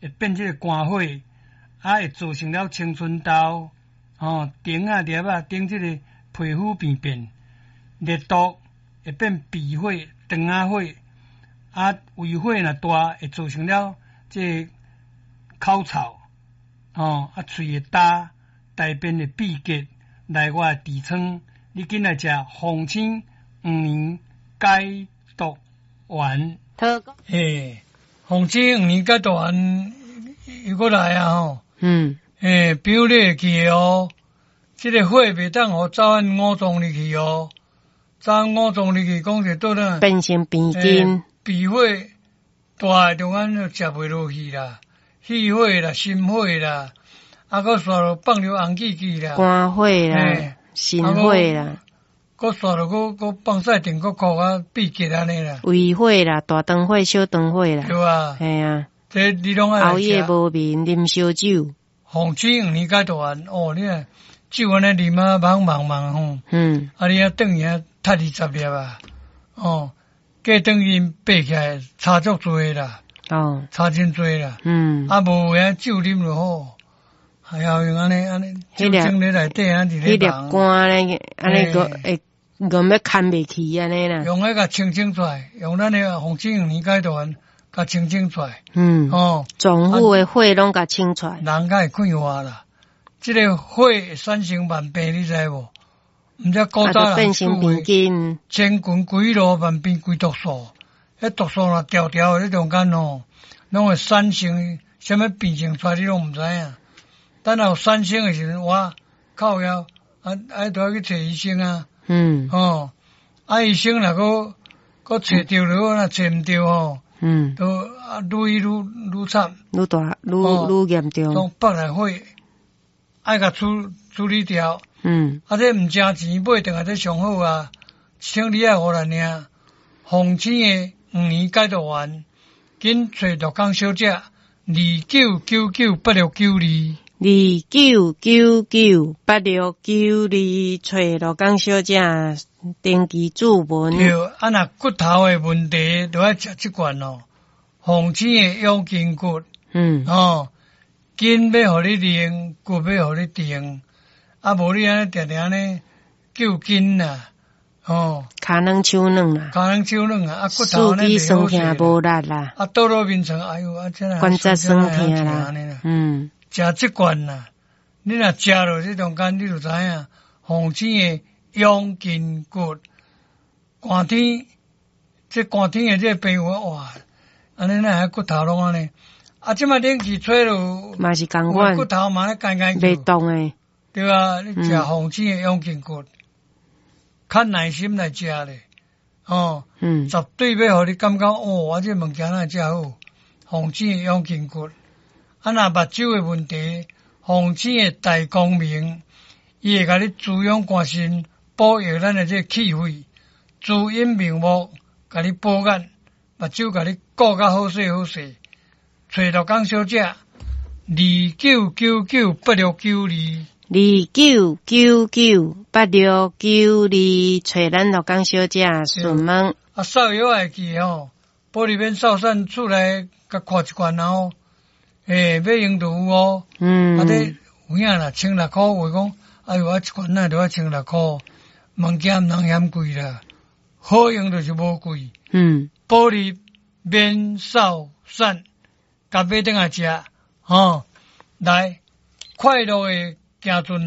會變這个肝火，啊會造成了青春痘，吼，腸仔粒仔頂這个皮膚病變，熱毒會變鼻火、腸仔火，啊胃火若大會造成了這个口臭，吼，啊喙會焦，大便會秘結，內外痔瘡，你緊來食鳳仙黃連解毒丸。嘿，鳳仙黃連解毒丸又閣來啊吼！欸，比如你會記得哦，這个火袂當予走按五臟入去哦，走按五臟入去，講是倒轉變成病根。脾火大的中間就食袂落去啦，氣火啦、心火啦，啊，閣煞落放著紅記記啦，肝火啦、心火啦，閣煞落閣閣放屎定閣哭啊，秘結按呢啦。胃火啦、大腸火、小腸火啦，對啊，嘿啊，這你攏愛熬夜無眠，啉燒酒。鳳仙黃連解毒丸哦，你看酒按呢啉啊，茫茫茫吼，啊你啊轉去啊，踢20粒啊，哦，過轉去爬起來差足濟啦，差真濟啦，啊無影酒啉就好，還要用按呢按呢，酒精咧內底按佇咧彼粒肝咧，按呢閣會閣欲牽袂去按呢啦。用彼共清清出來，用咱的鳳仙黃連解毒丸共清清出來。哦，臟腑的火攏共清出來。人較會快活啦。這个火會產生萬病，你知無？毋知古早人變成病根，千群幾路萬病歸毒素，彼毒素若條條佇中間吼，攏會產生啥物病症出來，你攏毋知影。等有產生的時陣，哇，靠腰啊，啊，都愛去揣醫生啊。哦，啊，醫生若閣閣揣著了，若揣毋著吼，都啊，愈醫愈愈慘，愈大愈愈嚴重。攏腹內火，愛共處處理掉。啊，這毋誠錢買轉來這上好啊！請你愛予咱領，鳳仙的黃連解毒丸，緊揣陸江小姐，29998692。29998692，揣陸江小姐登記注文。對，啊，若骨頭的問題，就愛食這罐哦。鳳仙的養筋骨。哦，筋欲予你練，骨欲予你定。啊，無你按呢定定按呢救筋啦，哦，跤軟手軟啦，跤軟手軟啊，啊骨頭四肢酸痛無力啦，啊倒落眠床，哎喲，啊這關節酸痛啦，食這罐啦，你若食落這中間，你就知影，鳳仙的養筋骨，寒天，這寒天的這個朋友哇，按呢哪會骨頭攏按呢？啊，這擺冷氣吹落，嘛是仝款，骨頭嘛咧乾乾袂動的。對啊，你食鳳仙的養筋骨，較耐心來食咧，哦，絕對欲予你感覺哦，我這物件哪會遮好？鳳仙的養筋骨，啊，若目睭的問題，鳳仙的大光明，伊會共你滋養肝腎，保育咱的這個氣血，滋陰明目，共你補眼，目睭共你顧較好勢好勢。揣陸江小姐，29998692。29998692，揣咱陸江小姐詢問。啊，掃藥會記吼，保利免掃散厝內共看一罐哦，欸，欲用就有哦。啊，這有影啦，千六箍話講，哎喲，啊一罐哪著愛千六箍，物件毋通嫌貴啦，好用就是無貴。保利免掃散，共買轉來食，吼，來快樂的行陣來。